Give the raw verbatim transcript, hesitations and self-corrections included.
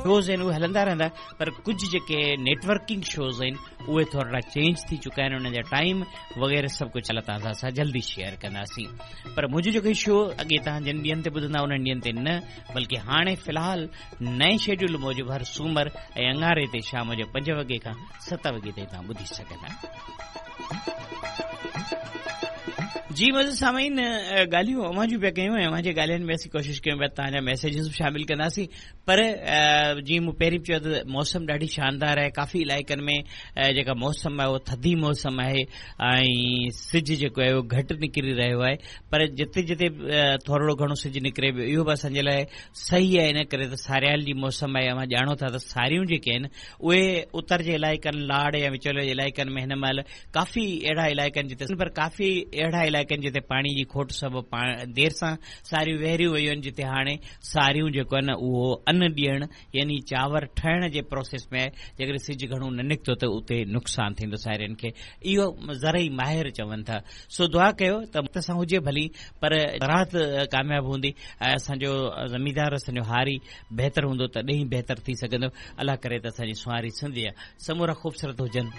Shows آهن اهي هلندا رهندا، پر ڪجهه جيڪي نيٽورڪنگ شوز آهن اهي ٿورڙا چينج ٿي چڪا آهن، انهن جا ٽائيم وغيره سڀ ڪجهه الله تعاليٰ سان جلدي شيئر ڪنداسين. پر منهنجو جيڪو شو اڳي توهان جن ڏينهن تي ٻڌندا انهن ڏينهن تي نه، بلڪه هاڻي في الحال نئين شيڊيول موجب هر سومر ۽ اڱاري تي شام جو پنج وڳي کان ست وڳي تائين توهان ٻڌي سگهندا. جي معزز سامعين، ڳالهيون اوهان جون پيا ڪيون ۽ اوهان جي ڳالهين ۾ اسين ڪوشش ڪيون پيا توهان جا ميسيجز به شامل ڪنداسين. پر جيئن مون پهرين به چيو ته موسم ڏاڍي شاندار آهي، ڪافي علائقن ۾ جيڪا موسم آهي اها ٿڌي موسم آهي ۽ سج جيڪو آهي اهو گهٽ نڪري رهيو آهي، پر جتي جتي ٿورڙو گهڻو سج نڪري پيو اهو به اسان جي لاء صحيح آهي، ان ڪري ته ساريال جي موسم آهي. اوهان ڄاڻو ٿا ته ساريون جيڪي آهن اهي اتر جي علائقن، لاڙ يا وچولي جي علائقن ۾ هن مهل ڪافي اهڙا علائقا آهن جتي، پر ڪافي اهڙا علائقا آهن جتي پاڻي جي کوٽ سبب دير سان ساريون وهريون ويون آهن، جتي هاڻي ساريون جيڪو آهن اهو ان ڏيڻ يعني چانور ٺهڻ جي پروسيس ۾ آهي. جيڪڏهن سج گهڻو نه نڪتو ته اتي نقصان ٿيندو سارين کي، اهو زرعي ماهر چون ٿا. سو دعا ڪيو ته وقت سان هجي ڀلي، پر زراعت ڪامياب هوندي ۽ اسان جو زميندار، اسان جو هاري بهتر هوندو تڏهن ئي بهتر ٿي سگهندو. الله ڪري ته اسان جي سنواري سنڌ جا سمورا خوبصورت هجن.